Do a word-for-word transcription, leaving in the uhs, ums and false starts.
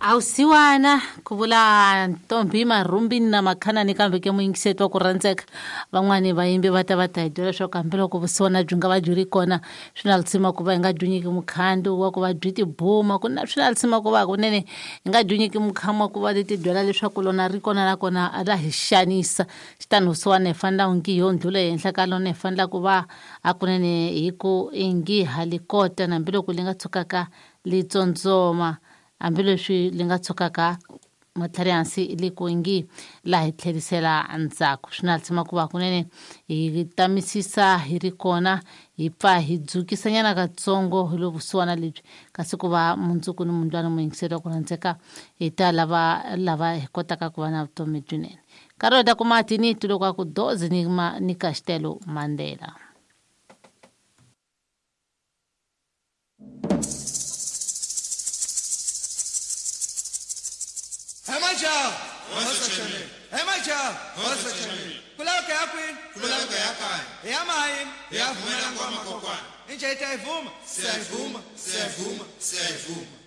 Awusiwana ku vula Ntombi Marhumbi na Makhanani kambe ke muyingiseti wa ku rhandzeka van'wani vayimbi va ta va ta hi byela leswaku hambiloko vusiwana byi nga va byi ri kona swi na lisima ku va hi nga byi nyiki mukhandu wa ku va byi tibuma ku na swi na lisima ku va kunene hi nga byi nyiki mukhamu wa ku va ti byela leswaku lona ri kona nakona ra hi xanisa xitani vusiwana hi fanela ngi yo ndlhula ehenhla ka lona hi fanela ku va hakunene hi ku ingi ha li kota hambiloko li nga tshukaka li tsondzoma hambileswi li nga tshukaka matlhari hansi li ku ngi laha hi tlherisela ndzhaku swi na lisima ku va kunene hi tamisisa hi ri kona hi pfa hi dzukisanyana katsongo hi lo vusiwana lebyi kasi ku va mundzuku ni mundlwana muyingiseri wa ku rhandzeka hi ta lava lava hi kotaka ku va na vutomi byinene nkarhi wo ta kuma tiniti loko a ku dozi ni ma ni Castelo Mandela. Siyayivuma, siyayivuma, siyayivuma.